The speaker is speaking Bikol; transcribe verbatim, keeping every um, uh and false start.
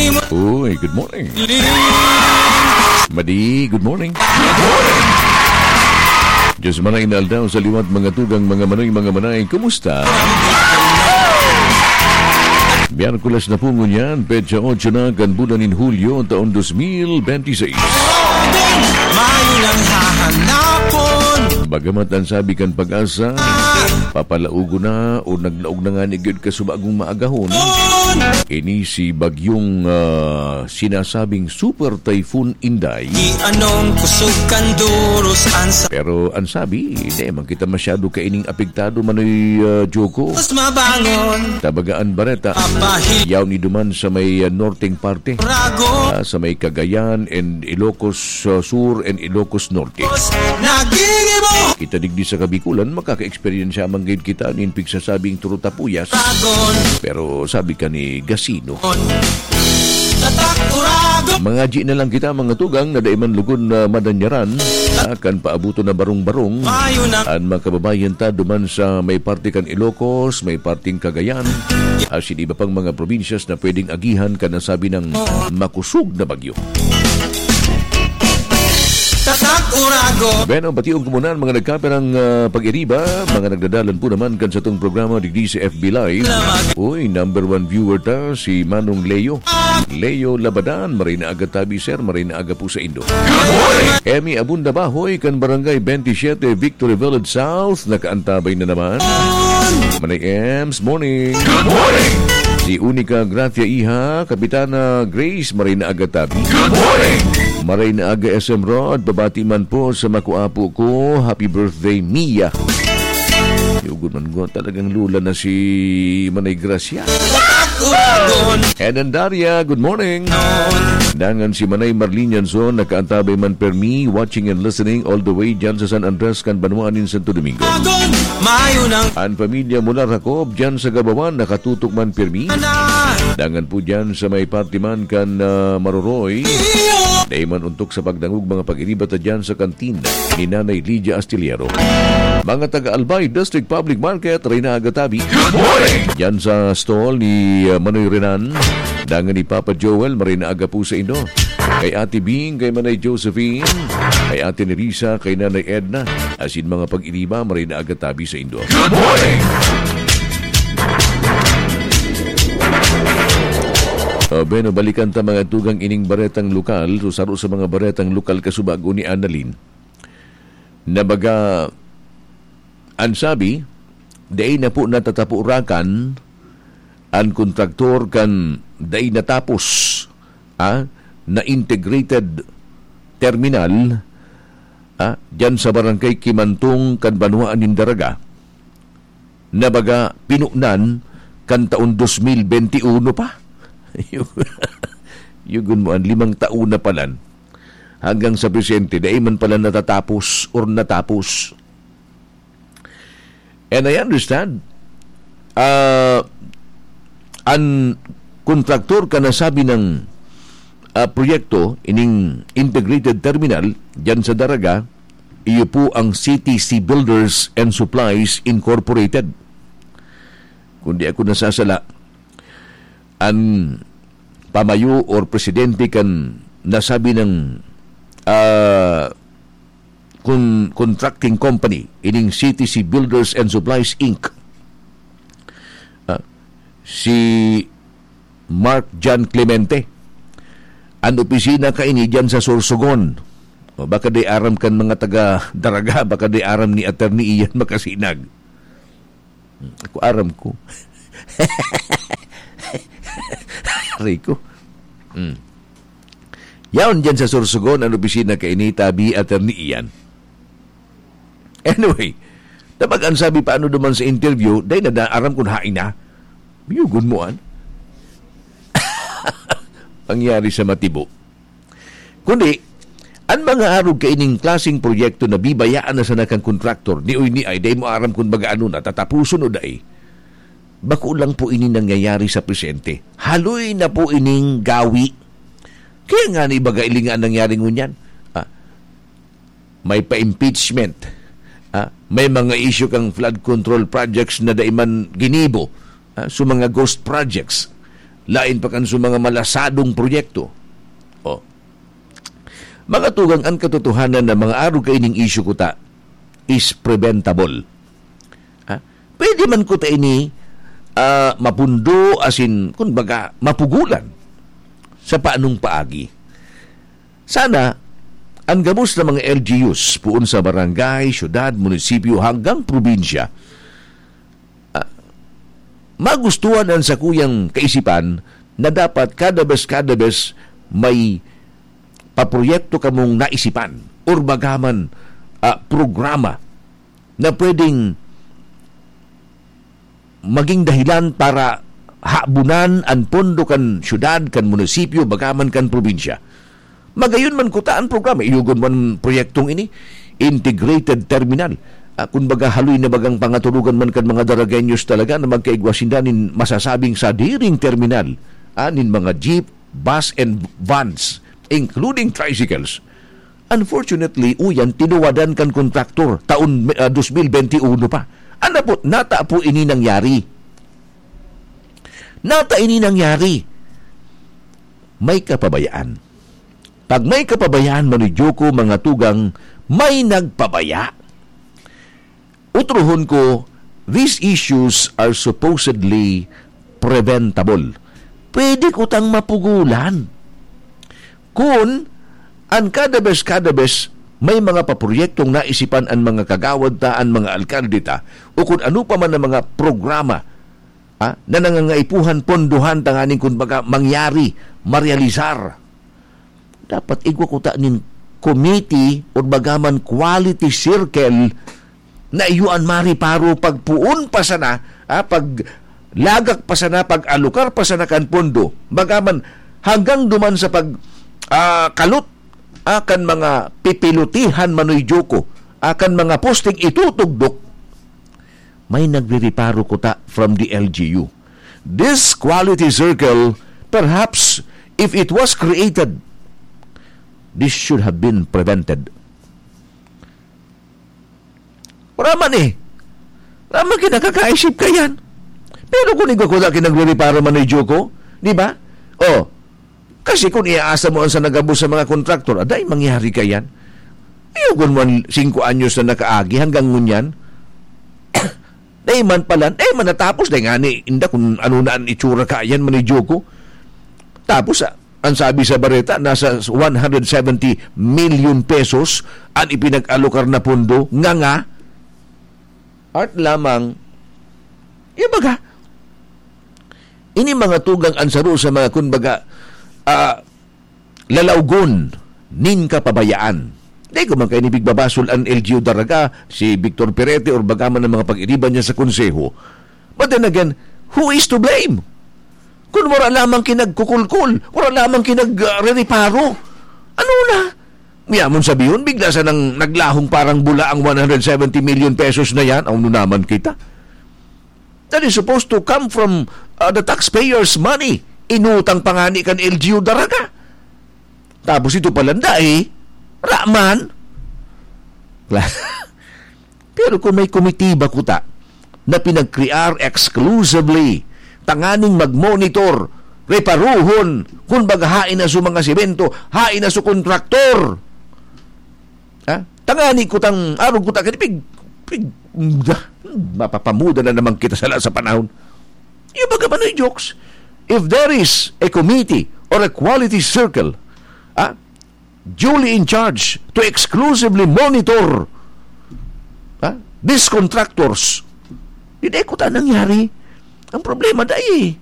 Uy, good morning. Madi, good morning. Diyos manay na aldaw sa liwat, mga tugang, mga manoy, mga manay. Kumusta? Miyerkules na po ngunyan, petsa otso na kan bulan nin Hulyo, taon dos mil benti seis. Mayo nang hahanapon. Bagamat ang sabi kan Pag-asa, papalaogon na o naglaog na nga ni gyud ka sa bagong maagahon. Ini si bagyong, ah, sinasabing Super Typhoon Inday. Di anong kusog kan duros an sa Pero ang sabi, di man kita masyado kaining apektado, Manoy, ah, Joko. Mas mabangon. Tabagaan bareta. Apahil Yaw ni duman sa may, ah, norteng parte. Rago. Ah, sa may Cagayan and Ilocos, ah, Sur and Ilocos Norte. Nagigimo. Kita digdi sa Kabikulan, makaka-eksperyensya man gayud kita nin pigsasabing turutapuyas. Ragon. Pero sabi ka ni Gasino. Tatak uragon. Mga G na lang kita, mga tugang, na dai man lugod na madanyaran, ah, kan paabuton na barong-barong. Mayo na. An mga kababayan ta duman sa may parte kan Ilocos, may parteng Cagayan, asin iba pang mga probinsyas na pwedeng agihan kan nasabi nang makusog na bagyo. Tatak uragon. Bueno, bation ko muna ang mga nagkapirang, ah, pag-iriba, mga nagdadalan po naman kan satong programa digdi sa F B Live. Uy, number one viewer ta, si Manong Leo. Leo Labadan, maray na aga tabi, sir, maray na aga po sa indo. Good morning. Emmy Abunda Bahoy, kan Barangay twenty-seven, Victory Village South, nakaantabay na naman. Manay Ems, morning. Good morning. Si Unica Gracia Iha, Kapitana Grace, maray na aga tabi. Good morning. Maray na aga, S M Rod, babati man po sa makuapo ko. Happy birthday, Mia. Yugon man ko, talagang lula na si Manay Gracia. Eden Daria, good morning. Dangan si Manay Marlene Yanson, nakaantabay man permi, watching and listening all the way dyan sa San Andres, kan banwaan nin Santo Domingo. Agon, mayo nang An pamilya mula Racob, dyan sa Gabawan, nakatutok man permi. Ana. Dangan po dyan sa may parte man kan, ah, Maroroy. Iyo. Dai man untok sa pagdangog, mga pag-iriba ta dyan sa kantin ni Nanay Lydia Astillero. Mga taga Albay District Public Market, Reyna Agatabi. Good morning! Dyan sa stall ni, ah, Manoy Renan, dangan ni Papa Joel, maray na aga po sa indo. Kay Ate Bing, kay Manay Josephine, kay Ate Nerissa, kay Nanay Edna, asin mga pag-iriba, maray na aga tabi sa indo. Good morning! Ah, bueno, balikan ta mga tugang ining baretang lokal. So, saro sa mga baretang lokal kasubago ni Annalyn. Na baga, an sabi, dai na po natatapurakan an kontraktor kan dai natapos, ah, na integrated terminal, ah, diyan sa Barangay Kimantong kan banwaan nin Daraga, na baga pinunan kan taon dos mil benti uno pa. Yugon mo, an limang taon na palan. Hanggang sa presente, dai man pala natatapos or natapos. And I understand, ah, an kontraktor kan nasabi nang, ah, proyekto, ining integrated terminal, diyan sa Daraga, iyo po ang C T C Builders and Supplies Incorporated. Kung di ako nasasala, an pamayo or presidente kan nasabi nang, ah, kun-, contracting company, ining C T C Builders and Supplies, Inc. Ah, si Mark John Clemente. An opisina kaini diyan sa Sorsogon. O, baka di aram kan mga taga Daraga, baka di aram ni Attorney Ian Makasinag. Hmm, ako aram ko. Aray ko. Hmm. Yaon diyan sa Sorsogon an opisina kaini, tabi, Attorney Ian. Anyway, tabag an sabi pa ano duman sa interview, dai na da-, aram kun hain na. Yugon mo, an? Pangyari sa matibo. Kundi, an mga arog kaining klaseng proyekto na bibayaan na sana kan kontraktor, ni oy ni ay, dai mo aram kun baga ano na, tatapuson o dai. Bako lang po ini nangyayari sa presente. Haloy na po ining gawi. Kaya nga ni baga ili nga nangyari ngunyan. Ah, may pa-impeachment. Ah, may mga issue kang flood control projects na dai man ginibo. Ah, so mga ghost projects. Lain pa kan sa mga malasadong proyekto. Oh. Mga tugang, an katotohanan na mga arog kaining isyu kuta is preventable. Ha? Pwede man kuta ini, ah, mapundo, asin, kumbaga, mapugulan sa paanong paagi. Sana, ang gabos na mga L G Us, puon sa barangay, syudad, munisipyo, hanggang probinsya, ah, magustuhan ang sakuyang kaisipan na dapat kada bes, kada bes may paproyekto kamong naisipan or bagaman, ah, programa na pwedeng maging dahilan para habunan an pondo kan syudad, kan munisipyo, bagaman kan probinsya. Magayon man kuta an programa, iyogon man proyektong ini, integrated terminal. Ah, kun baga, haloy na bagang pangaturugan man kan mga Daragueños talaga na magkaigwa sinda nin masasabing sadiring terminal, ah, nin mga jeep, bus and vans, including tricycles. Unfortunately, uyan, tinuwadan kan kontraktor taon, ah, dos mil benti uno pa. An apot, nata po ini nangyari. Nata ini nangyari. May kapabayaan. Pag may kapabayaan, Manoy Joko, mga tugang, may nagpabaya. Utrohon ko, these issues are supposedly preventable. Pwede kutang mapugulan. Kun an kada bes, kada bes, may mga paproyektong naisipan an mga kagawad ta, an mga alkalde ta, o kun ano pa man ang mga programa, ah, na nangangaipuhan pondohan tanganing, kumbaga, mangyari, marealisar. Dapat igwa kuta nin committee or bagaman quality circle na iyo an mariparo pagpoon pa sana, ah, pag lagak pa sana, pag-alokar pa sana kan pondo, bagaman hanggang duman sa pag, ah, kalot, ah, kan mga pipilutihan, Manoy Joko, ah, kan mga posting itutugdok, may nagririparo kuta from the L G U. This quality circle, perhaps, if it was created, this should have been prevented. Wala man eh. Wala man kinakakaisip ka yan. Pero kung igwa ko na kinagreriparo, Manoy Joko, di ba? Oh, kasi kung iaasa mo ang sa nagabos sa mga kontraktor, aday, mangyari ka yan. Iyo, kung man singko anyos na nakaagi hanggang ngunyan, dai man pala, dai man natapos, dai nga ni, inda kung ano na ang itsura ka yan, Manoy Joko. Tapos, ah, ang sabi sa bareta, nasa one hundred seventy million pesos ang ipinag-alokar na pondo, nga nga, art lamang, yung baga, ini mga tugang an saro sa mga, kumbaga, ah, lalawgon nin kapabayaan. Di ko man kayo nipigbabasol an L G U Daraga, si Victor Perete, or baga man ang mga pag-iriba niya sa konseho. But then again, who is to blame? Kung wala lamang kinagkukulkul, wala lamang kinag-, ah, reriparo, ano na? Miyamon sabihon, bigla sa nang naglahong parang bula ang one hundred seventy million pesos na yan, ano naman kita? That is supposed to come from, uh, the taxpayers' money. Inutang pa nga ni kan L G U Daraga. Tapos ito pala, dai, raman. Pero kung may komitiba kuta na pinag-crear exclusively tanganing mag-monitor, reparuhon, kun baga hain na su mga semento, hain na su kontraktor. Ha? Tangani kutang arog kuta kani pig, pig, da, mapapamuda na naman kita sala sa panahon. Yung baga, Manoy Jokes, if there is a committee or a quality circle, ah, duly in charge to exclusively monitor, ah, these contractors, di na kuta nangyari. Ang problema, dai,